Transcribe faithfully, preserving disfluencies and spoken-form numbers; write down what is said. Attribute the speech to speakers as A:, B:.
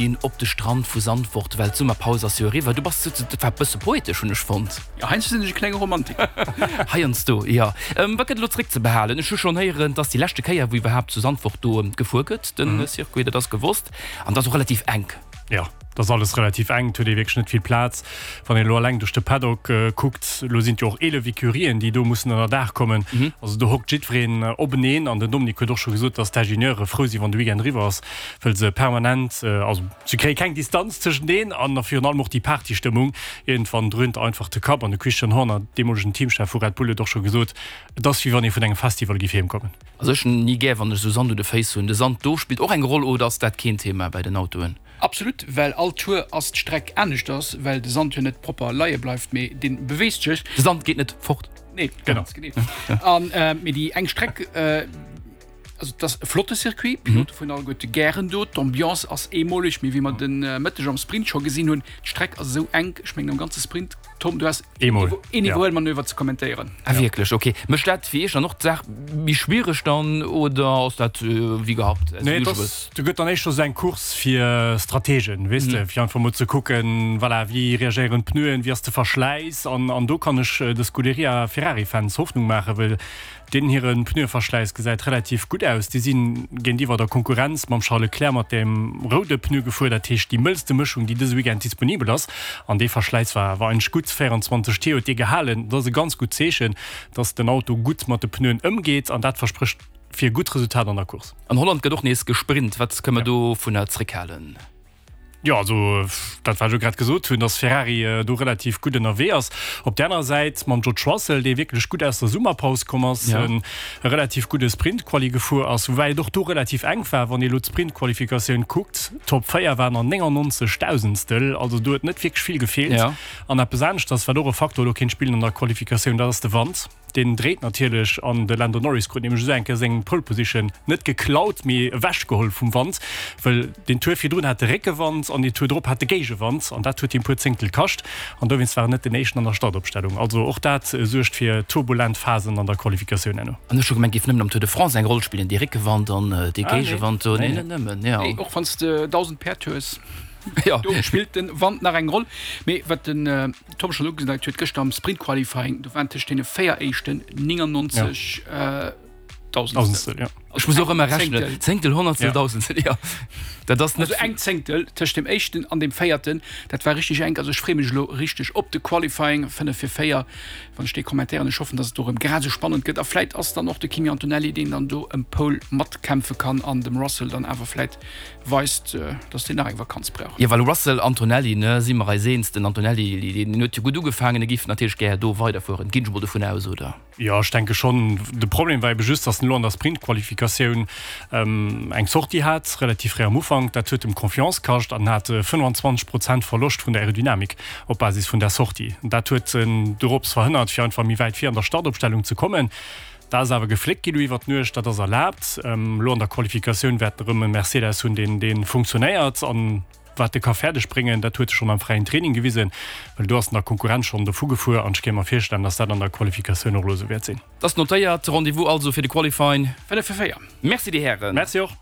A: Ginn op de Strand vu Sandvoort, well d'Summerpaus ass jo eriwwer. Du bass, dat war e bësse poetesch, hunn ech fonnt.
B: Jo, heiansdo sinn ech e klenge Romantiker.
A: Heiansdo, jo. Wat gëtt elo zréckzebehalen? Ech hu schonn héieren, et ass déi leschte Kéier, wou iwwerhaapt zu Sandvoort do gefuer gëtt, de Circuit, dat ass gewosst. An et ass och relativ enk.
C: Jo, et ass alles relativ enk, et huet ee wierklech net vill Plaz. Wann een elo eleng duerch de Paddock kuckt, elo sinn et jo och eelef Ecurien, déi do mussen ënner Daach kommen. Also do hockt jiddwereen openeen. An den Dominique huet och scho gesot, dass d'Ingenieure frou sinn, wann de Weekend eriwwer ass, wëll se permanent, also se kréie keng Distanz tëschent een an virun allem och déi Partystëmmung. Iergendwann dröhnt einfach de Kapp. An de Christian Horner, deemolegen Teamchef vu Red Bull, huet och scho gesot, et ass wéi wann ee vun engem Festival géif heem kommen.
A: Also ech hunn ni gär, wann ech esou Sand u de Féiss hunn. De Sand do spillt och eng Roll oder ass dat keen Thema bei den Autoen?
B: Absolut, well all Tour ass d'Streck aneschters, well de Sand jo net propper leie bleift, mee dee beweegt sech.
A: De Sand geet net fort.
B: Nee, ganz genee. An mee déi eng Streck, also et ass e flotte Circuit, d'Pilote fueren alleguerte gären do, d'Ambiance ass eemoleg, mee wéi mer de Mëtteg am Sprint scho gesinn hunn, d'Streck ass esou enk, ech mengen am ganze Sprint, Tom, du has
C: Eemol,
B: een Iwwerhuelmanöver ze kommentéieren.
A: Ah wierklech, ok. Mécht dat fir iech dann och d'Saach méi schwiereg dann oder ass dat wéi gehabt, as
C: Nee,
A: usual?
C: dass, do gëtt dann éischter esou eng Course fir Strategen, weess de, fir einfach mol ze kucken, voilà, wéi reagéieren d'Pneuen, wéi ass de Verschläiss an, an do kann ech de Scuderia Ferrari-Fans Hoffnung maachen, well Deenen hire Pneueverschläiss gesäit relativ gutt aus. Déi si géintiwwer der Konkurrenz mam Charles Leclerc mat dem roude Pneu gefuer, dat heescht déi mëllste Mëschung, déi dëse Weekend disponibel ass. An dee Verschläiss war war eigentlech gutt, véierundzwanzeg T huet dee gehalen. Dat ass e ganz gutt Zeechen, dass den Auto gutt mat de Pneuen ëmgeet an dat versprécht fir e gutt Resultat an der Course.
A: An Holland gëtt och nees gesprint. Wat kënne mer dovunner zréckhalen?
C: Jo, also dat wat ech elo grad gesot hunn, datt Ferrari do relativ gutt ënnerwee ass. Op där anerer Säit mam George Russell, dee wierklech gutt aus der Summerpaus komm ass, e relativ gudde Sprint-Quali gefuer ass, woubäi et och do relativ enk war, wann ee elo d'Sprint-Qualifikatioun kuckt. D'Top véier waren an néngannonzeg Dausendstel, also do huet net wierklech vill gefeelt. An eppes aneschters, wat och e Faktor elo kéint spillen an der Qualifikatioun, dat ass de Wand. Deen dréit natierlech an de Lando Norris krut nämlech esou eng Kéier seng Pole Position net geklaut, mee ewechgeholl vum Wand, well deen Tour virdrun hat de Réckewand an deen Tour drop hat de Géigewand an dat huet him puer Zéngtel kascht an dowéinst war en net den éischten an der Startopstellung. Also och dat suergt fir turbulent Phasen an der Qualifikatioun herno.
A: An ech hu gemengt, géif nëmmen am Tour de France eng Roll spillen, dee Réckewand an dee Géigewand do. Nee, net nëmmen, jo.
B: Nee, och wann s de dausend Päerd hues.
A: Jo.
B: Do spillt den Wand nach eng Roll. Mee wat den Tom schonn ugedeit huet, gëschter am Sprint Qualifying, do waren tëscht deene véier éischten néngannonzeg
C: Dausendstel.
A: Ja. Ech muss och ëmmer rechnen. Zéngtel, Honnertstel, Dausendstel, jo. Dat ass net.
B: Also eng Zéngtel tëscht dem éischten an dem véierten, dat war richteg enk. Also ech freeë mech elo richteg op de Qualifying, fënnef fir véier, wann ech dee kommentéieren. Ech hoffen, datt et do erëm grad esou spannend gëtt. A vläit ass dann och de Kimi Antonelli, deen dann do ëm Pole matkämpfe kann an dem Russell dann awer vläit Weist, dass deen nach eng Vakanz brauch.
A: Jo, well Russell, Antonelli, ne, si mer eis eens, den Antonelli, deen huet jo gutt ugefaangen, e giff natierlech gär do weiderfueren, ginn ech mol dovun aus, oder?
C: Jo, ech denke schonn. De Problem war ebe just, dass en elo an der Sprintqualifikatioun eng Sortie hat, relativ fréi am Ufank. Dat huet em Confiance kascht an hat fënnwanzwanzeg Prozent Verloscht vun der Aerodynamik op Basis vun där Sortie. Dat huet en dorops verhënnert, fir einfach méi wäit vir an der Startopstellung ze kommen. Dat ass awer gefléckt ginn elo iwwer d'Nuecht, dat ass erlaabt. Elo an der Qualifikatioun wäert en erëm e Mercedes hunn, deen dee funktionéiert an wat e ka fäerdeg bréngen. Dat huet e schonn am fräien Training gewisen, well do ass en der Konkurrenz schonn dovu gefuer an ech kéint mer virstellen, datt dat an der Qualifikatioun och elo esou wäert sinn.
A: Dat ass notéiert. Rendez-vous also fir de Qualifying.
B: Fënnef fir véier.
A: Merci, Dir Hären.
C: Merci och.